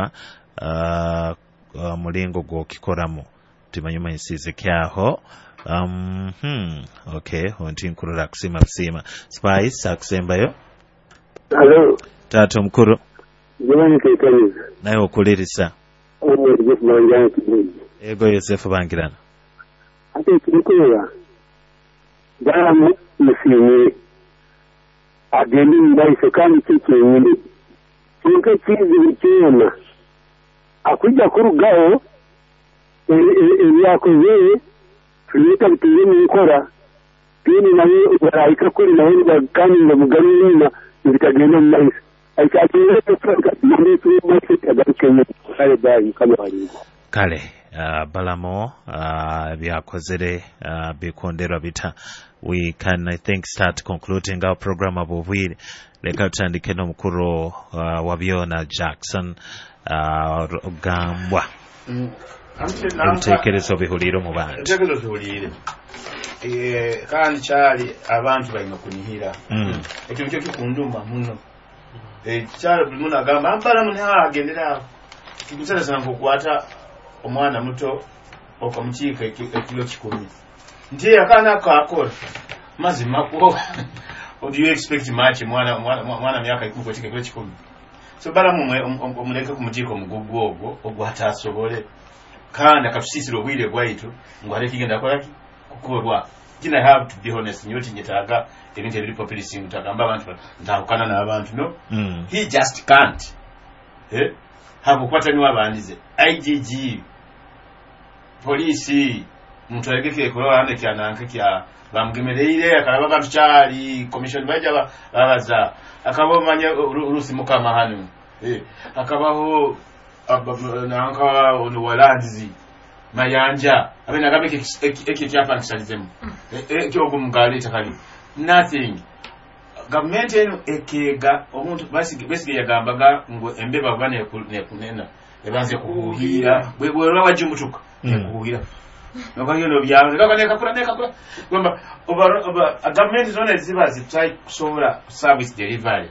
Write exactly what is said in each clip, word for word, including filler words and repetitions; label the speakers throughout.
Speaker 1: Uh, uh, mulingo gwokikoramu timanyi manyisize kyaho. um, hmm, okay, onti nkurora kusiima kusiima Spice akusembayo.
Speaker 2: Halo.
Speaker 1: Taata omukuru.
Speaker 2: Jamani, kekanyiza.
Speaker 1: Naye okulirisa.
Speaker 2: Omwe Yosefu Bangirana Kibuzi.
Speaker 1: Ego, Yosefu Bangirana.
Speaker 2: Ate ekirikureba, Balamu musiimire agende omu maiso, kandi kyo kyenyini kyonka ekizibu kyona akujja kurugaho ebyakozere tuleta bituze mu nkora, then nawe barahika kuri nawe kandi ngo mugarure inyuma bitagenda mu maiso. Kale, bayi Mukama walingo.
Speaker 1: Kale, uh, Balamo uh, byakozere uh, bikonderwa bita. We can, I think, start concluding our program abubwire. Leka tutandike n'omukuru uh, wa byona Jackson uh, Rugambwa.
Speaker 3: Mm.
Speaker 1: Ebitekerezo bihuliire omu bantu.
Speaker 3: Ebitekerezo bihuliire. Eh, kandi kyali abantu balina kunihira.
Speaker 1: Mm.
Speaker 3: Ekyo nikyo kikunduma muno. Eh, kyali buli muntu agamba Balamu ntagendera awo. Kikusalasa nkukwata omwana muto okamukiika ekiro kikumi nti akaana ako akola mazima ko do you expect much mwana mwana myaka ikumi kwekika ekiro kikumi? So Balamu omuleke kumukiika omugugu ogwo ogwatasobole, kandi akatusisira obwire bwaitu ngu hariho ekigenda kukolaki kukorwa. Kina, I have to be honest, nyowe tinyetaaga ebintu ebiri populist, ntagamba abantu ntahukana n'abantu, no.
Speaker 1: Mm.
Speaker 3: He just can't, eh hakukwata niwe abandize I G G polisi muntu alegeke kulola kyananke kya bamugemereire akalaba abantu kyali commission baija babaza akaba manya Rusi Mukama hano, eh akabaho nanka ono walanzi Mayanja abe nagabe eki kyapankisalizemu ekyo ogwo takali nothing. Gavumenti eno ekega omuntu Besige yagambaga ngu embeba kuba nekunena ebanze kuhuhira bwerwa wajumutuka nekuhuhira nokagenda obyalo nekakula nekakula gamba oba gavumenti zona ziba zitry kusobola service delivery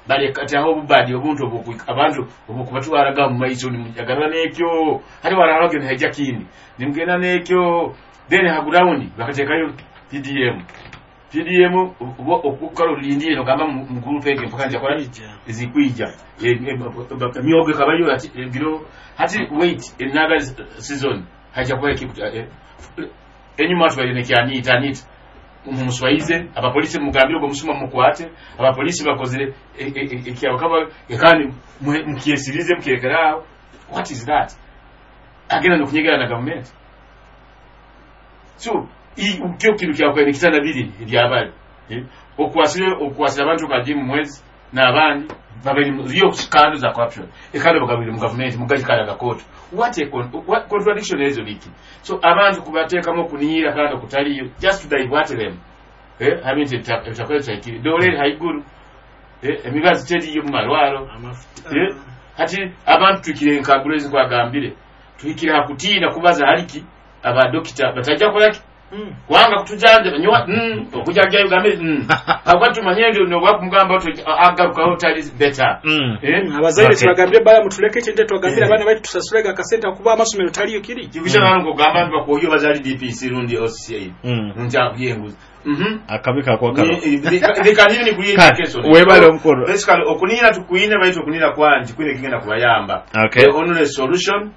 Speaker 3: baleka aho obubadi obuntu obu abantu obukubatwaraga mu maiso nimujagala nekyo hali wararagyo nihajja kindi nimugenda nekyo, then ha ground bakateekayo P D M. P D M okukala olindire nogamba mu group ege mpaka nja kola ezikwija emyogo ekabayo ati biro hati wait another season hajja kuba enyuma tubaire nekyanita anita mumuswayize abapolisi mugambire ogwo musuma mukwate abapolisi bakozere ekyabakaba kandi mukyesirize mukirekeraawo. What is that? Agenda nokunyegera na gavumenti. So kyo kintu kyakwaine kitanda biri ebyabali okwasire okwasira abantu kaji mu mwezi n'abandi babiri scandal za corruption ekando bagabire mu gavumenti mugajikala gakoto. What a con what contradiction ezo biki? So abantu kubateekamu okunihira kandi okutaliyo, just to divert them, eh habintu ebitakweta ekiri dole haiguru, eh emibazi teriyo mu malwalo, eh hati abantu tukire nkagulezi kwagambire tuhikire hakutiina kubaza haliki abadokita batajja kolaki wanga kutujanja nyowa mm, okujanja ugambe mm. Habwa tumanye ndio no wakumugamba agarukaho tali better.
Speaker 1: Mm.
Speaker 3: Eh?
Speaker 4: Abazaire
Speaker 1: Okay.
Speaker 4: tibagambire Balamu tuleke ekintu, twagambire
Speaker 3: Eh.
Speaker 4: abaana baitu tusasulege akasente kuba amasomero taliyo kiri.
Speaker 3: Kibisha mm. Ngogamba nti bakuyo bazali D P C rundi O C A
Speaker 1: Mm.
Speaker 3: nja kuyenguza mhm
Speaker 1: Akabi kakwa karo.
Speaker 3: They can even create
Speaker 1: Kale,
Speaker 3: education.
Speaker 1: webale omukulu.
Speaker 3: Basically okunira tukuine baitu okunira kwanji kwine kigenda kubayamba.
Speaker 1: Okay.
Speaker 3: The only solution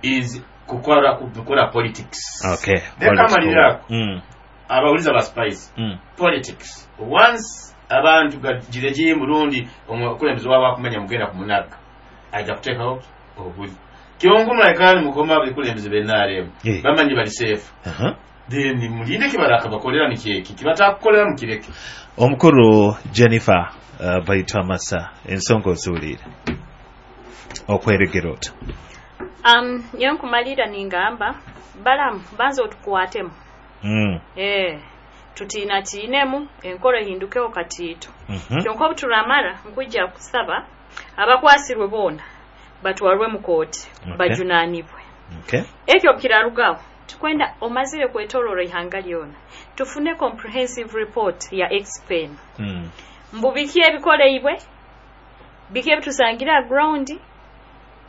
Speaker 3: is kukola kukola politics.
Speaker 1: Okay.
Speaker 3: Leka amalirako.
Speaker 1: Mm.
Speaker 3: Abawuliza ba Spice.
Speaker 1: Mm.
Speaker 3: Politics. Once abantu gire murundi omukulembeze waabwe akumanya mugenda kumunaga ajja kuteekawo obuli kyongu mulekani mukoma abakulembeze b'N R M
Speaker 1: Eh.
Speaker 3: bamanyi bali safe.
Speaker 1: Aha.
Speaker 3: Then mulinde kibaraka bakolera nikyeki kibatakukolera mukireke.
Speaker 1: Omukulu Jennifer uh, Baitwa Masa, ensonga oziwulire okweregera ota?
Speaker 5: um, nyowe nkumalira ningamba Balamu banza otukwatemu.
Speaker 1: Mm.
Speaker 5: Eh, tutiinatiinemu enkora ehindukeho katiito.
Speaker 1: Mhm.
Speaker 5: Kyonka obuturamara nkujja kusaba abakwasirwe boona batwarwe mu kooti,
Speaker 1: Okay.
Speaker 5: bajunanibwe.
Speaker 1: Okay.
Speaker 5: Ekyo kirarugaho tukwenda omazire kwetolora ihanga lyona tufune comprehensive report ya expen
Speaker 1: Mm.
Speaker 5: mbu biki ebikoleibwe, biki ebitusangire ground.